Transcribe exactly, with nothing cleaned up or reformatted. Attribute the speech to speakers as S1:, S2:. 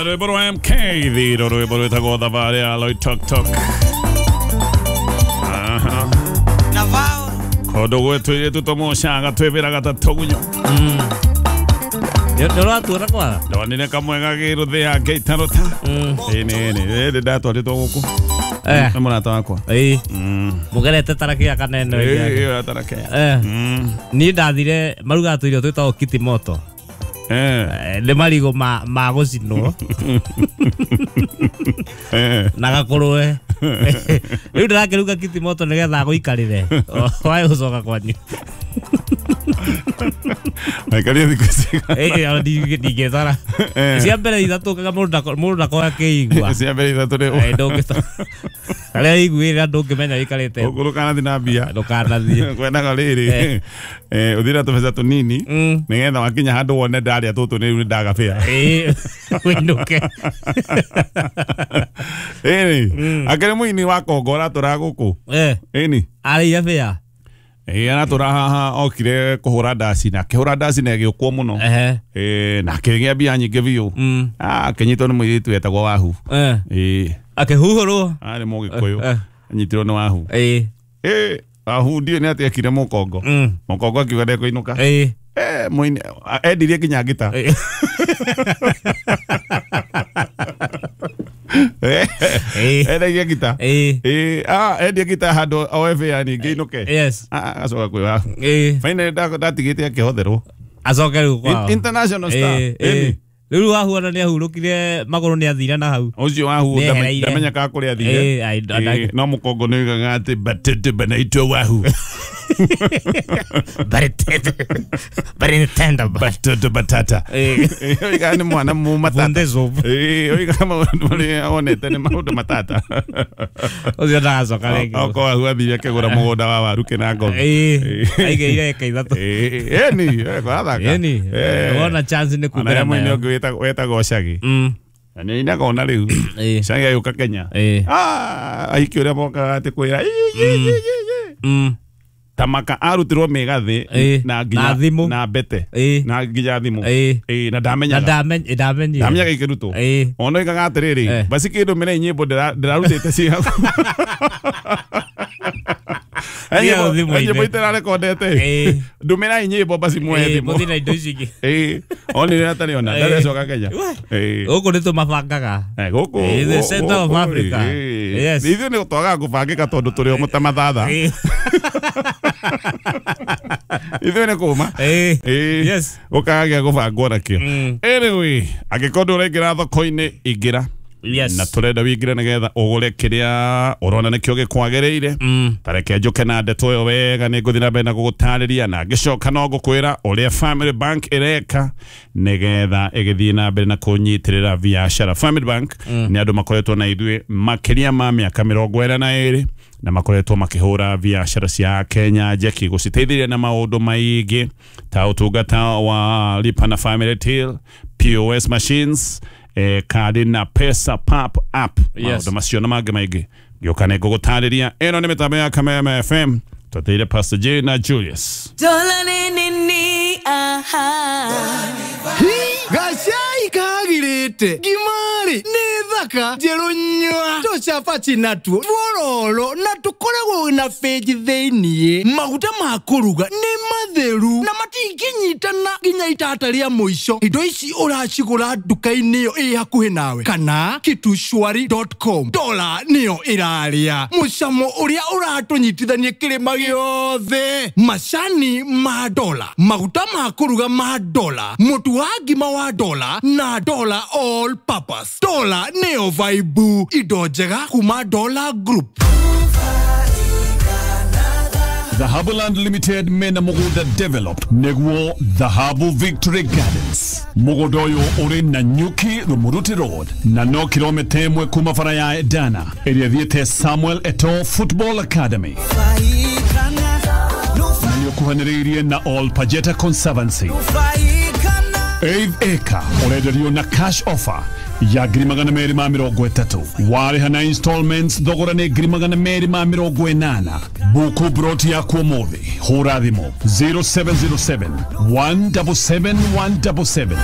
S1: Rwĩmbo rwa M K thiro rwĩmbo rwĩtagwo thabarĩ ya Loitoktok. Aha. Kũndũ gwĩtũ ithuĩ tũmũcaga twĩvĩraga ta tũgunyũ.
S2: Nĩ ũratuona kwara?
S1: Ndonire kamwe gagĩrũthĩa ngĩitarũta. Ĩĩ nĩ nĩ nĩ ndatwarĩtwo gũkũ.
S2: Eh.
S1: Nĩ mũrata wakwa.
S2: Ĩĩ. Mũgerete tarakĩa kanene.
S1: Ĩĩ ĩyo tarakĩa.
S2: Eh. Niĩ ndathire marugaga tũirio twĩtagwo kitimoto.
S1: Eh.
S2: Nĩ marigũ ma ma gũcinwo.
S1: Eh.
S2: Na gakũrũe. Rĩu ndĩrakĩruga kitimoto nĩgetha gũikarĩre. Wae gũcoka kwanyu.
S1: Maikaria thikũ cigana?
S2: Ĩĩ ndingĩtara. Cia mbere ithatũ kaga mũndũ ndakorwo akĩigua.
S1: Cia mbere ithatũ nĩ
S2: Ĩĩ ndũngĩta. Harĩa iguĩra ndũngĩmenya wĩikarĩte.
S1: Ndũkanathiĩ na mbia.
S2: Ndũkanathiĩ.
S1: Kwendaga rĩrĩ. Eh ũthiĩ na tũbeca tũnini nĩgetha wakinya handũ wone ndarĩa tũtũ nĩ rĩu nĩndagabĩa.
S2: Ĩĩ wĩinũke.
S1: Ĩni akĩrĩ mũini wa Kongo ũratũra gũkũ.
S2: Eh.
S1: Ĩni.
S2: Arĩire bĩa.
S1: Ĩĩ aratũra haha okire kũhũra ndaci na akĩhũra ndaci na ĩgĩũkwo mũno.
S2: Ehe.
S1: Ĩĩ na akĩgĩa mbia nyingĩ biũ. Ah akĩnyitwo nĩ mũirĩtu wetagwo Wahu.
S2: Eh.
S1: Ĩĩ.
S2: Akĩhuhũrwo.
S1: Arĩ Mũgĩkũyũ. Anyitirwo nĩ Wahu.
S2: Ĩĩ.
S1: Ĩĩ Wahu ndiũĩ nĩ atĩa ekire Mũkongo. Mũkongo akiuga ndekũinũka.
S2: Ĩĩ.
S1: Eh mũini endirie nginya ngita.
S2: Ĩĩ.
S1: Endagia ngita.
S2: Ĩĩ.
S1: Ĩĩ ah endia ngita handũ oe bĩa ningĩ inũke.
S2: Yes.
S1: Ah acoka kwĩ Wahu.
S2: Ĩĩ.
S1: Finally ndatigĩte akĩhotherwo.
S2: Acoke rĩu kwao.
S1: International star.
S2: Ĩĩ. Rĩu Wahu ona nĩahurũkire magũrũ nĩathire na hau.
S1: Ũcio Wahu
S2: Nĩehereire.
S1: ndamenya kana kũrĩa athire.
S2: Ĩĩ
S1: No Mũkongo nĩoigaga atĩ batete banaitwa Wahu.
S2: Batete. Batete.
S1: Batete batata.
S2: Ĩĩ.
S1: Oigaga nĩ mwana mũmatata. Ĩĩ oigaga maũndũ marĩa onete nĩ maũndũ matata.
S2: Ũcio ndagacoka rĩngĩ.
S1: Okorwo Wahu athire akĩgũra mũgũnda wa waru Kĩnangobe.
S2: Ĩĩ. Aigĩire eka ithatũ.
S1: Ĩĩ ĩni athaka.
S2: Ĩni. Wona chance nĩ
S1: Ona
S2: kumbĩra
S1: he mũini
S2: nayo.
S1: ũngĩ wĩtagwo Shaggy. Na nĩainaga ona rĩu.
S2: Ĩĩ.
S1: Shaggy agĩũka Kenya.
S2: Ĩĩ.
S1: Ah ahiki ũrĩa mokaga atĩ kwĩra ĩ ĩ ĩ ĩ. Tamaka arutirwo mĩgathĩ na nginya
S2: Na thimũ.
S1: na mbete
S2: Ĩĩ.
S1: na nginya thimũ.
S2: Ĩĩ.
S1: Ĩĩ na ndamenyaga.
S2: Na ndamenyaga.
S1: Ndamenyaga ikĩrutwo.
S2: Ĩĩ.
S1: Ona oigaga atĩrĩrĩ basi kĩndũmĩre nyĩmbo ndĩrarutĩte ciĩ hau. Nyĩmbo itararekondete. Ndũmĩrai nyĩmbo basi muoye thimũ.
S2: Mũthiĩ na indo ici ingĩ.
S1: Ĩĩ. Onire atarĩ ona ndarecoka Kenya. Ĩĩ.
S2: Gũkũ nĩ tũmabangaga.
S1: Gũkũ.
S2: The center of Africa. Yes.
S1: Ithuĩ nĩ twagaga kũbangĩka tondũ tũrĩ o ta mathatha. Ithuĩ nĩ kũma.
S2: Ĩĩ. Yes.
S1: Gũkagĩa gũbangwo nakĩo. Anyway, angĩkorwo ndũraingĩra thoko-inĩ ingĩra.
S2: Yes.
S1: Na tũrenda wĩingĩre nĩgetha ũgũre kĩrĩa ũrona nĩkĩo gĩkwagĩrĩire. Ta reke njũke na ndeto ĩyo wega nĩ ngũthiĩ na mbere na gũgũtarĩria na ngĩcoka no ngũkwĩra ũrĩa Family Bank ĩreka nĩgetha ĩgĩthiĩ na mbere na kũnyitĩrĩra biacara. Family Bank nĩ andũ makoretwo na ithuĩ makĩria ma mĩaka mĩrongo ĩna na ĩrĩ na makoretwo makĩhũra biacara cia Kenya njeki gũciteithĩrĩria na maũndũ maingĩ ta ũtungata wa Lipa na Family Till, P O S machines, eh, kadi na pesa pap app.
S2: Yes.
S1: Maũndũ macio na mangĩ maingĩ ngĩũka nĩ ngũgũtarĩria. Ĩno nĩ mĩtambo ya Kameme F M twateire Pastor J na Julius.
S3: Gacai kagirĩte ngimari nĩ thaka njerũ nyua tũcabaci natuo twororo na tũkoragwo na benji thĩiniĩ. Maguta ma kũruga nĩ matheru na matingĩnyitana nginya itata rĩa mũico. Indo ici ũracigũra nduka-inĩ ĩyo ĩ hakuhĩ nawe kana kitushwari dot com. Dola nĩyo ĩrarĩa mũcamo ũrĩa ũratũnyitithania kĩrĩma gĩothe. Macani ma dola, maguta ma kũruga ma dola, mũtu wa ngima wa dola na dola all purpose. Dola nĩyo vibe. Indo njega kuma Dola Group.
S4: Dhahabu Land Limited mena mugunda developed neguo Dhahabu Victory Gardens. Mugunda uyu uri na Nyuki Rumuruti Road na no kilomita imwe kuma bara ya Edana ĩrĩa ĩthiĩte Samuel Eto'o Football Academy. Na nĩũkuhanĩrĩirie na All Pajeta Conservancy. Eighth acre ũrenderio na cash offer ya ngiri magana merĩ ma mĩrongo ĩtatũ. Warĩha na installments thogora nĩ ngiri magana merĩ ma mĩrongo ĩnana. Buku broti yaku ũmũthĩ hũra thimũ zero seven zero seven one seven seven one seven seven.